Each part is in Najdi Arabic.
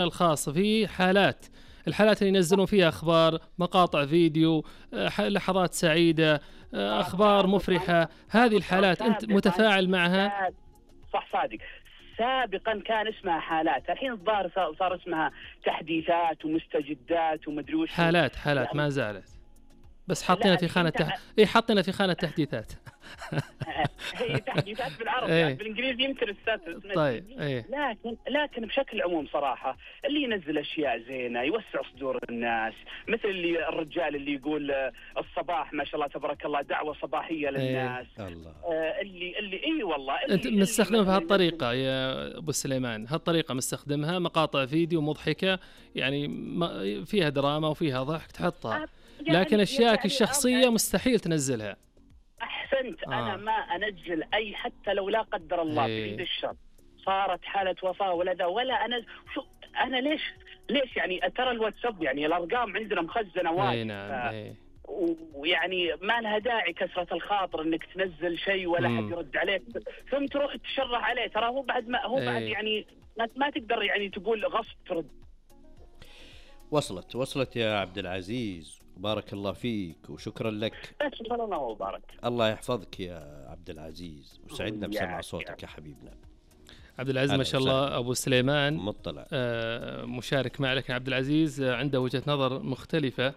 الخاصة في الحالات اللي ينزلون فيها أخبار، مقاطع فيديو، لحظات سعيدة، أخبار مفرحة، هذه الحالات أنت متفاعل معها؟ صح صادق. سابقا كان اسمها حالات، الحين الظاهر صار اسمها تحديثات ومستجدات ومدري وش. حالات يعني ما زالت، بس حاطينا في خانة حاطينا في خانة تحديثات. هي تحديثات بالعربي، بالانجليزي يمكن الستاتس. طيب لكن بشكل عموم صراحة اللي ينزل اشياء زينة يوسع صدور الناس، مثل الرجال اللي يقول الصباح ما شاء الله تبارك الله دعوة صباحية للناس. الله. اللي والله انت مستخدمها بهالطريقة يا ابو سليمان، هالطريقة مستخدمها، مقاطع فيديو مضحكة يعني فيها دراما وفيها ضحك تحطها، لكن اشياءك الشخصية مستحيل تنزلها. أحسنت. أنا ما أنزل أي، حتى لو لا قدر الله بعيد الشر صارت حالة وفاة ولا ذا ولا أنا أنا ليش يعني ترى الواتساب يعني الأرقام عندنا مخزنة واجد. ويعني ما لها داعي كسرة الخاطر انك تنزل شيء ولا حد يرد عليك ثم تروح تشرح عليه. ترى هو بعد بعد يعني ما تقدر يعني تقول غصب ترد. وصلت يا عبد العزيز، بارك الله فيك وشكرا لك. الله يحفظك يا عبد العزيز، وسعدنا بسمع صوتك يا حبيبنا عبد العزيز. ما شاء الله أبو سليمان مطلع مشارك معك، لكن عبد العزيز عنده وجهة نظر مختلفة.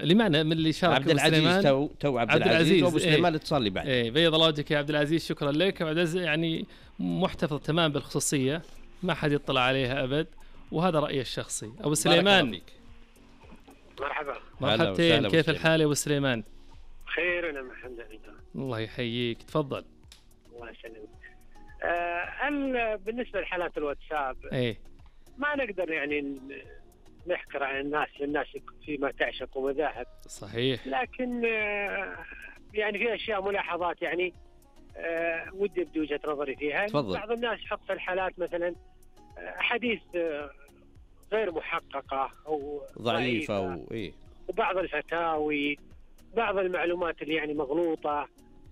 لمعنى من اللي شارك عبد العزيز تو عبد العزيز وابو سليمان اتصال لي بعد. بيض الله وجهك يا عبد العزيز، شكرا لك. عبد العزيز يعني محتفظ تمام بالخصوصية، ما حد يطلع عليها أبد، وهذا رأيي الشخصي. أبو سليمان مرحبتين، كيف الحال يا أبو سليمان؟ خير أنا الحمد لله. الله يحييك، تفضل. الله يسلمك. بالنسبة لحالات الواتساب ما نقدر يعني نحكر على الناس فيما تعشق ومذاهب. صحيح. لكن يعني في أشياء ملاحظات يعني ودي أبدي وجهة نظري فيها. تفضل. بعض الناس يحط في الحالات مثلا أحاديث غير محققة أو ضعيفة أو وبعض الفتاوي، بعض المعلومات اللي يعني مغلوطة،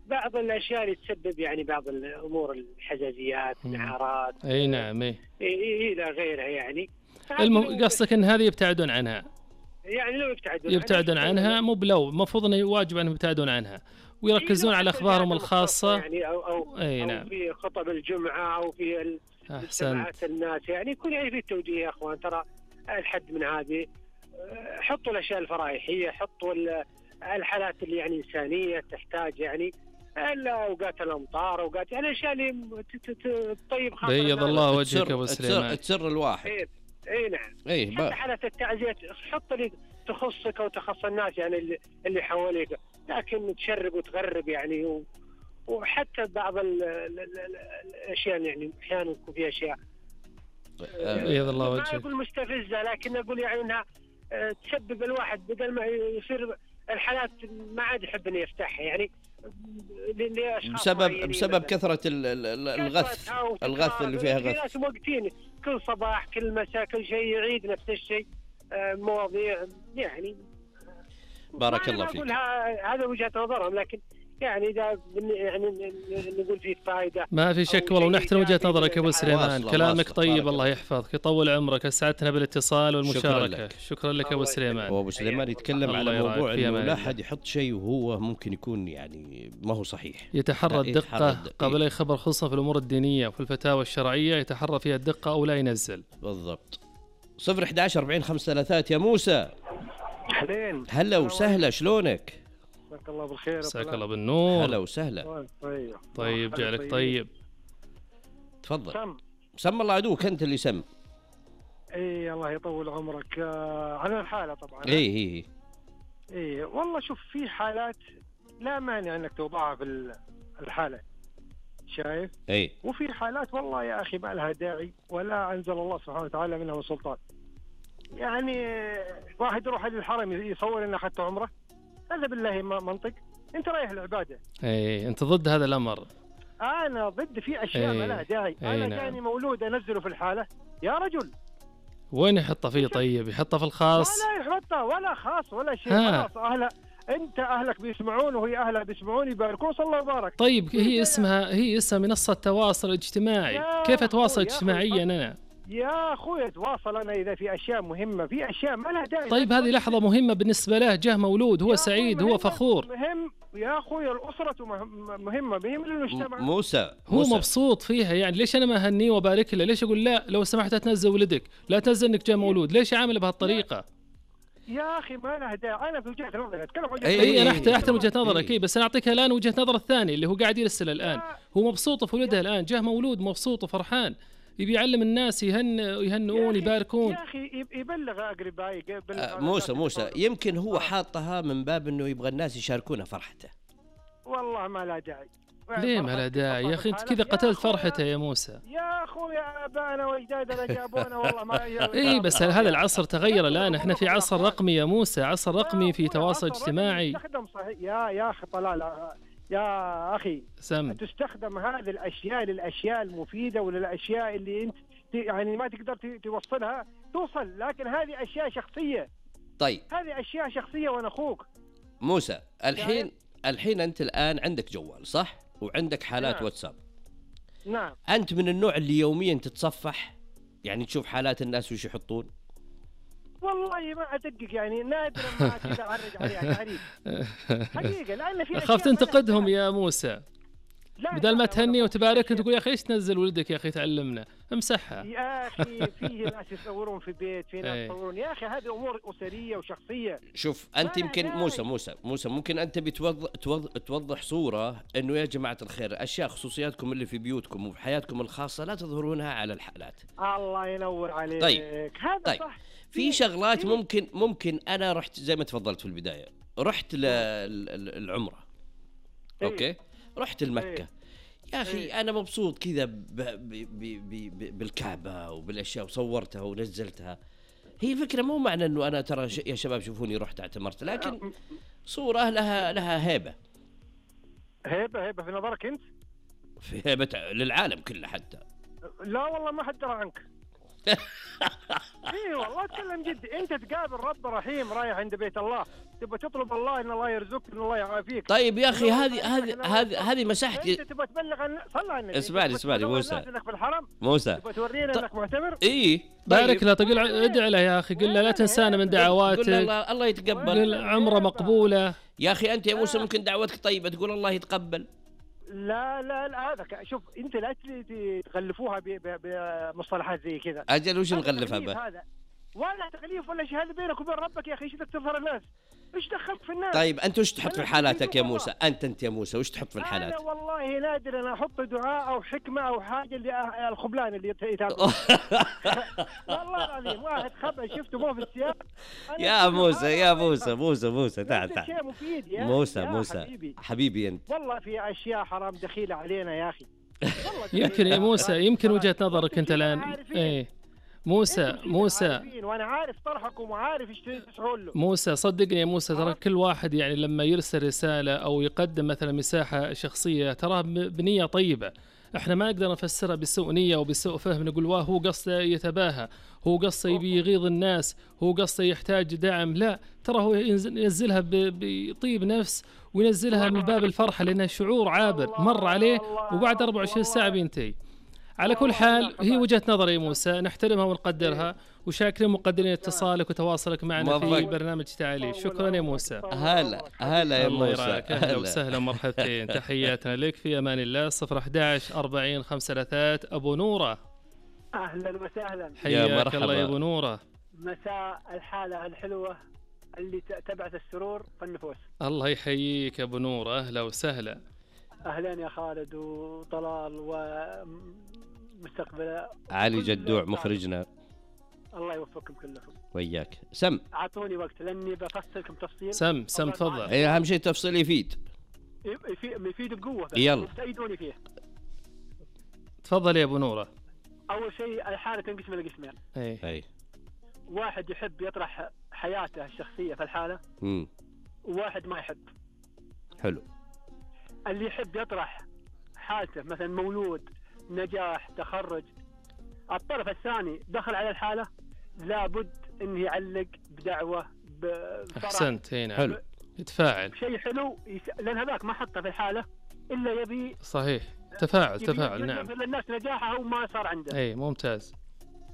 بعض الأشياء اللي تسبب يعني بعض الأمور الحزازيات، نعارات. نعم. إلى غيرها يعني. قصدك أن هذه يبتعدون عنها؟ يعني لو يبتعدون عنها، مو بلو المفروض أنه واجب أنهم يبتعدون عنها ويركزون على أخبارهم الخاصة يعني أو نعم. في خطب الجمعة أو في اجتماعات الناس يعني يكون يعني في التوجيه يا أخوان. ترى الحد من هذه حطوا الأشياء الفرائحية، حطوا الحالات اللي يعني إنسانية تحتاج يعني أوقات الأمطار، أوقات يعني الأشياء اللي تطيب خاطر. بيض الله وجهك أبو سليمان. تسر الواحد. نعم. حتى حالة التعزية حط اللي تخصك وتخص الناس يعني اللي حواليك، لكن تشرب وتغرب يعني وحتى بعض الأشياء يعني أحيانا يكون فيها أشياء بيض الله وجهك. ما أقول مستفزة، لكن أقول يعني أنها تسبب الواحد بدل ما يصير الحالات ما عاد يحب انه يفتحها يعني بسبب كثرة الغث اللي فيها غث. ناس موقتين كل صباح كل مساء كل شيء يعيد نفس الشيء، مواضيع يعني. بارك الله فيك. هذا وجهة نظرهم، لكن يعني إذا يعني نقول فيه فائدة ما في شك والله، ونحترم وجهة نظرك أبو سليمان. كلامك طيب، الله يحفظك، يطول عمرك، أسعدتنا بالاتصال والمشاركة. شكرا لك أبو سليمان. وأبو سليمان يتكلم على موضوع إنه لا أحد يحط شيء وهو ممكن يكون يعني ما هو صحيح. يتحرى الدقة قبل أي خبر، خصوصا في الأمور الدينية وفي الفتاوى الشرعية، يتحرى فيها الدقة أو لا ينزل. بالضبط. 011 40 5 يا موسى. هلا وسهلا، شلونك؟ مساك الله بالخير. مساك الله بالنور. هلا وسهلا. طيب جعلك طيب. تفضل. سم الله عدوك، انت اللي سم. الله يطول عمرك. على الحالة طبعا. اي والله شوف، في حالات لا مانع انك توضعها في الحالة، شايف؟ وفي حالات والله يا اخي ما لها داعي ولا انزل الله سبحانه وتعالى منها سلطان. يعني واحد يروح للحرم يصور انه اخذت عمره، هذا بالله ما منطق. انت رايح العباده. انت ضد هذا الامر. انا ضد في اشياء ما لها داعي. انا جاني مولود انزله في الحاله يا رجل، وين يحطه فيه؟ طيب يحطه في الخاص ولا يحطه ولا خاص ولا شيء. خلاص انت اهلك بيسمعون وهي اهلها بيسمعون، يباركون صلى الله وبارك. طيب هي اسمها منصه تواصل اجتماعي، كيف اتواصل اجتماعيا انا؟ يا اخوي تواصل انا اذا في اشياء مهمه، في اشياء ما لها داعي. طيب هذه لحظه مهمه بالنسبه له، جه مولود، هو سعيد، هو فخور. مهم يا اخوي، الاسره مهمه للمجتمع. موسى هو مبسوط فيها، يعني ليش انا ما اهنيه وبارك له؟ ليش اقول لا لو سمحت تنزل ولدك، لا تنزل انك جاء مولود؟ ليش عامل بهالطريقه؟ يا اخي ما له داعي. انا في وجهه نظري اتكلم عن اي انا احترم وجهه نظرك، بس انا اعطيك الان وجهه نظر الثاني اللي هو قاعد يرسل الان. هو مبسوط في ولده الان، جاه مولود مبسوط وفرحان، يبي يعلم الناس يهنئون يباركون. يا اخي يبلغ اقربائي. موسى يمكن هو حاطها من باب انه يبغى الناس يشاركونه فرحته. والله ما لا داعي. ليه ما لا داعي يا اخي؟ انت كذا قتلت فرحته يا موسى. يا اخوي ابائنا واجدادنا جابونا والله ما اي بس هذا العصر تغير الان، احنا في عصر رقمي يا موسى، عصر رقمي في تواصل اجتماعي. تستخدم صحيح يا اخي طلال يا اخي تستخدم هذه الاشياء للاشياء المفيده وللاشياء اللي انت يعني ما تقدر توصلها توصل، لكن هذه اشياء شخصيه. طيب هذه اشياء شخصيه وانا اخوك موسى. الحين انت الان عندك جوال صح؟ وعندك حالات نعم. واتساب. نعم. انت من النوع اللي يوميا تتصفح، يعني تشوف حالات الناس وش يحطون؟ والله ما ادقق، يعني نادرا ما كذا اعرج عليها تعريف حقيقه، لان في اخاف تنتقدهم يا موسى. بدل ما تهني وتبارك تقول يا اخي ايش تنزل ولدك يا اخي تعلمنا، امسحها يا اخي. فيه ناس يصورون في بيت، في ناس يصورون يا اخي، هذه امور اسريه وشخصيه. شوف انت يمكن موسى ممكن انت توضح صوره انه يا جماعه الخير اشياء خصوصياتكم اللي في بيوتكم وفي حياتكم الخاصه لا تظهرونها على الحالات. الله ينور عليك. هذا طيب. صح. في شغلات ممكن انا رحت زي ما تفضلت في البدايه، رحت للعمره. اوكي رحت المكة. يا أخي أنا مبسوط كذا بالكعبة وبالأشياء وصورتها ونزلتها. هي الفكرة مو معنى أنه أنا ترى يا شباب شوفوني رحت اعتمرت، لكن صورة لها هيبة في نظرك أنت؟ في هيبة للعالم كله حتى. لا والله ما حد درى عنك. اي والله اتكلم جد. انت تقابل رب رحيم رايح عند بيت الله، تبغى تطلب الله ان الله يرزقك ان الله يعافيك. طيب يا اخي هذه مساحتي. انت تبغى تبلغ صلى على النبي. اسمعني موسى. انك في الحرم موسى تبغى تورينا انك معتمر. اي بارك له، تقول ادعي له يا اخي، قل له لا تنسانا من دعواتك، الله يتقبل، العمره مقبوله. يا اخي انت يا موسى ممكن دعوتك طيبه تقول الله يتقبل. لا هذا شوف انت لا تغلفوها بمصطلحات زي كذا. اجل وش نغلفها به؟ ولا تغليف ولا شيء، هذا بينك وبين ربك يا اخي. ايش بدك تظهر الناس؟ ايش دخلت في الناس؟ طيب انت وش تحط في حالاتك يا موسى؟ انت يا موسى وش تحط في الحالات؟ انا والله نادر انا احط دعاء او حكمه او حاجه اللي الخبلان اللي يتابعون. والله العظيم واحد خبل شفته مو في السياق. يا موسى تعال شيء مفيد يا موسى حبيبي انت. والله في اشياء حرام دخيله علينا يا اخي. يمكن يا موسى يمكن وجهة نظرك انت الان. ايه موسى وانا عارف طرحكم وعارف ايش تسعون له. موسى صدقني يا موسى، ترى كل واحد يعني لما يرسل رسالة او يقدم مثلا مساحة شخصية ترى بنية طيبة، احنا ما نقدر نفسرها بسوء نية وبسوء فهم، نقول واه هو قصده يتباهى، هو قصده يبي يغيظ الناس، هو قصده يحتاج دعم. لا، ترى هو ينزلها بطيب نفس وينزلها من باب الفرحة، لأنها شعور عابر مر عليه وبعد 24 ساعة بينتهي. على كل حال هي وجهة نظري يا موسى، نحترمها ونقدرها، وشاكرين مقدرين اتصالك وتواصلك معنا في برنامج تعالي. شكرا يا موسى. هلا يا موسى، اهلا وسهلا ومرحبتين. تحياتنا لك، في امان الله. 011 40 53 ابو نوره. اهلا وسهلا، حياك الله يا ابو نوره. مساء الحاله الحلوه اللي تبعث السرور في النفوس. الله يحييك يا ابو نوره، اهلا وسهلا. اهلين يا خالد وطلال ومستقبل علي جدوع مخرجنا. الله يوفقكم كلكم وياك. سم اعطوني وقت لاني بفصلكم تفصيل. سم تفضل. اهم شيء التفصيل يفيد بقوه. يلا تأيدوني فيه. تفضل يا ابو نوره. اول شيء الحاله تنقسم الى قسمين. اي واحد يحب يطرح حياته الشخصيه في الحاله، وواحد ما يحب. حلو. اللي يحب يطرح حالته مثلا مولود، نجاح، تخرج، الطرف الثاني دخل على الحالة لابد انه يعلق بدعوة بفرح. احسنت. هنا حلو، يتفاعل شيء حلو لان هذاك ما حطه في الحالة الا يبي. صحيح، تفاعل نعم. للناس نجاحه وما صار عنده. اي ممتاز.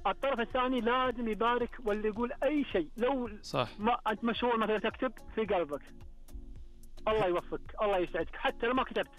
الطرف الثاني لازم يبارك واللي يقول اي شيء، لو صح ما انت مشهور مثلا تكتب في قلبك الله يوفقك الله يسعدك، حتى لو ما كتبت